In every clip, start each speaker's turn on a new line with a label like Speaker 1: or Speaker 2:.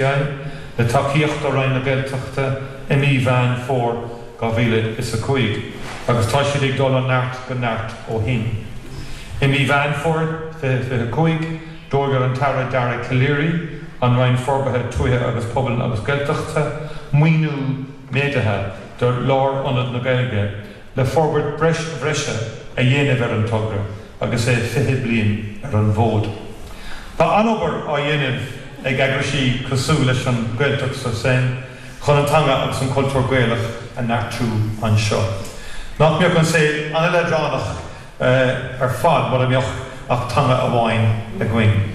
Speaker 1: Le tacaíocht ó Roinn na Gaeltachta i mí Mheán Fómhair 2005 agus tá siad ag dul ó neart go neart ó shin. I mí Mheán Fómhair 2025, d'fhógair an tAire Dara Calleary, an Roinn Forbartha Tuaithe agus Pobail agus Gaeltachta, maoiniú méadaithe do Lárionad na Gaeilge le forbairt bhreise a dhéanamh ar an togra agus é 20 bliain ar an bhfód. Tá an-obair á dhéanamh ag eagraisí cosúil leis an Gaeltacht sur Seine chun an teanga agus an cultúr Gaelach a neartú anseo. Nach mbeadh an saol an-leadránach ar fad mura mbeadh ach teanga amháin againn?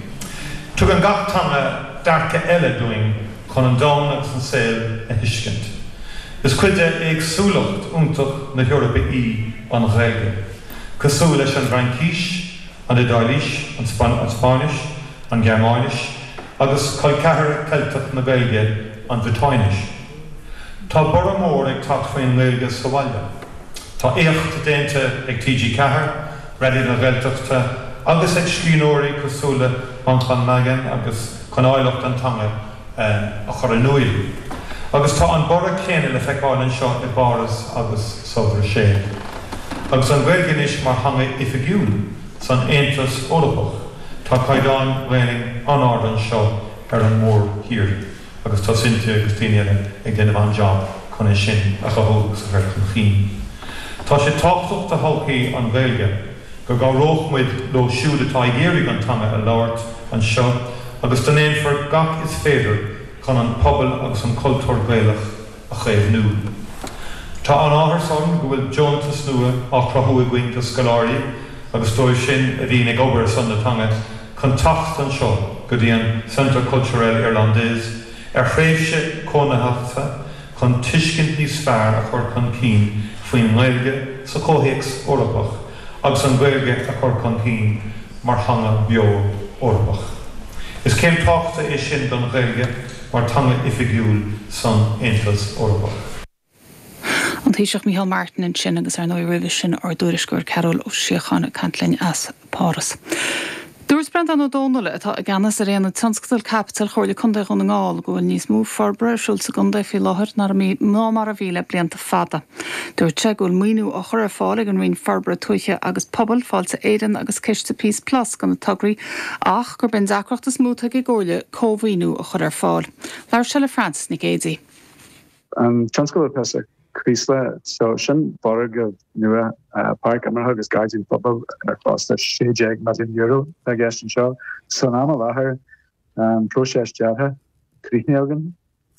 Speaker 1: Tugann gach teanga dearcadh eile dúinn chun an domhan agus an saol a thuiscint. Is cuid de éagsúlacht iontach na hEorpa í an Ghaeilge. Cosúil leis an bhFraincis, an Iodáilis, an Spáinnis, an Ghearmáinis, agus col ceathar Ceilteach na Gaeilge, an Bhriotáinis. Tá borradh mór ag teacht faoin nGaeilge sa bhaile. Tá éacht déanta ag TG4, Raidió na Gaeltachta agus ag scríbhneoirí cosúil le Manchán Magan agus chun áilleacht an teanga a chur in iúil. Agus tá an borradh céanna le feiceáil anseo i bPáras agus sa Bhruiséil. Agus an Ghaeilge anois mar theanga oifigiúil san Aontas Eorpach, tá caighdeán Ghaelainn an-ard anseo ar an mórthír agus tá Cynthia agus daoine eile ag déanamh an-jab chun é sin a chothú agus a chur chun chinn. Tá sé tábhachtach do thodhchaí an Ghaeilge go gcabhródh muid leo siúd atá ag iarraidh an teanga a labhairt anseo agus go ndéanfar gach is féidir chun an pobal agus an cultúr Gaelach a chaomhnú. Tá an-áthas orm go bhfuil deontas nua á chruthú againn do scoláirí agus dóibh sin a bhíonn ag obair ar son na teanga chun teacht anseo go dtí an Centre Culturel Irlandais ar thréimhse cónaitheachta chun tuiscint níos fearr a chur chun cinn faoin nGaeilge sa chomhthéacs Eorpach agus an Ghaeilge a chur chun cinn mar theanga bheo Eorpach. Is céim tábhachtach é sin don Ghaeilge mar teanga oifigiúil san Aontas Eorpach.
Speaker 2: An Taoiseach Micheál Martin ansin agus ar ndóigh roimhe sin ár dtuairisceoir Cearbhall Ó Síocháin ag caint linn as Páras. Dúirt Breandán Ó Domhnaill, atá i gceannas ar Aonad Tionscadal Caipitil Chomhairle Contae Dhún na nGall, go bhfuil níos mó forbartha ar siúl sa gcontae faoi láthair ná mar a bhí le blianta fada. Dúirt sé go bhfuil maoiniú á chur ar fáil ag an Roinn Forbartha Tuaithe agus Pobail, Fáilte Éireann agus Ciste Peace Plus do na tograí ach gurb é an deacracht is mó atá ag an gComhairle cómhaoiniú a chur ar fáil. Labhair sé le Frances Nic Géadaigh.
Speaker 3: An tionscadal atá sa Chraoslach so, sin foirgneamh nua, páirc imeartha agus gairdín pobail ar chostas €16 milliún atá i gceist anseo. San am i láthair, tá an próiseas deartha críochnaithe againn,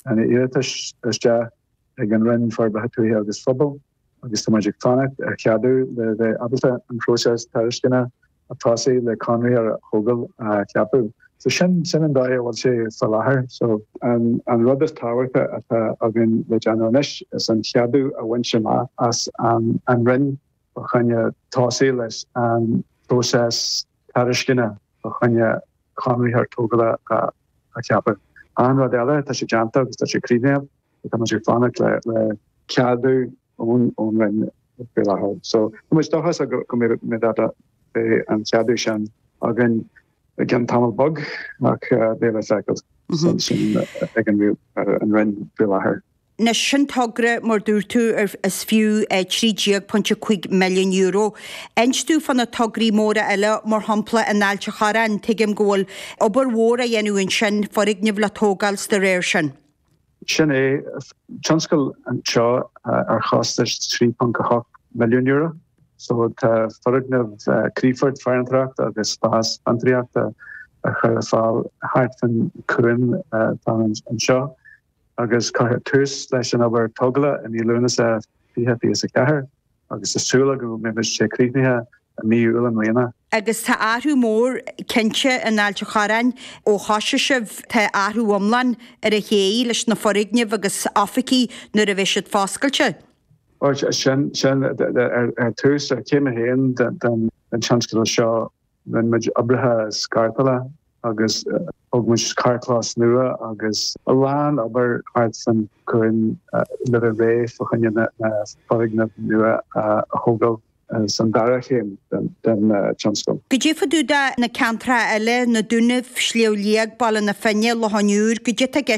Speaker 3: tá na iarratais isteach ag an Roinn Forbartha Tuaithe agus Phobail agus tá muid ag fanacht ar cheadú le bheith ábalta an próiseas tairisceana a thosaigh le conraitheoir tógála a cheapadh. So sin sin an dóigh a bhfuil sé faoi láthair. So an an rud is tábhachta atá againn le déanamh anois is an cheadú a bhaint amach as an an Roinn fá choinne tosaí leis an próiseas tairisceana fá choinne conraitheoir tógála a cheapadh. An rud eile, tá sé déanta agus tá sé críochnaithe, tá muid ag fanacht le le ceadú ón ón Roinn faoi láthair. So tá muid dóchasach go mbeidh beidh an ceadú sin againn i gceann tamall beag ach beidh le feiceáil sin sin ag an an Roinn faoi láthair.
Speaker 4: Anois sin togra, mar dúirt tú, ar is fiú €13.5 milliún. Inis dúinn fá na tograí móra eile, mar shampla in Ailt a' Chorráin, tuigim go bhfuil obair mhór á dhéanamh ansin, foirgneamh le tógáil 's dá réir sin.
Speaker 3: Sin é, tionscadal anseo ar chostas €3.8 milliún. So tá foirgneamh crífoirt farantóireachta agus spás fiontraíochta a chur ar fáil thart fan cuan atá anseo agus cuirfear tús leis an obair tógála i mí Lúnasa 2024 agus tá súil agam go mbeidh sé críochnaithe i mí Iúil i mbliana.
Speaker 4: Agus tá athrú mór cinnte in Ailt a' Chorráin ó thosaigh sibh, tá athrú iomlán ar an ché leis na foirgnimh agus oifigí nuair a bheidh siad foscailte.
Speaker 3: Ó sin, sin ar tús, ar chéim a haon den tionscadal seo, rinne muid oibreacha scartála agus thóg muid carrchlós nua agus a lán obair thart fan cuan le bheith réidh fá choinne na foirgnimh nua a thógáil. san dara chéim den tionscal.
Speaker 4: Goidé fá dtaobh de na ceantracha eile, na Dúnaibh, Sliabh Liag, Baile na Finne, Loch an Iúir, goidé atá i gceist?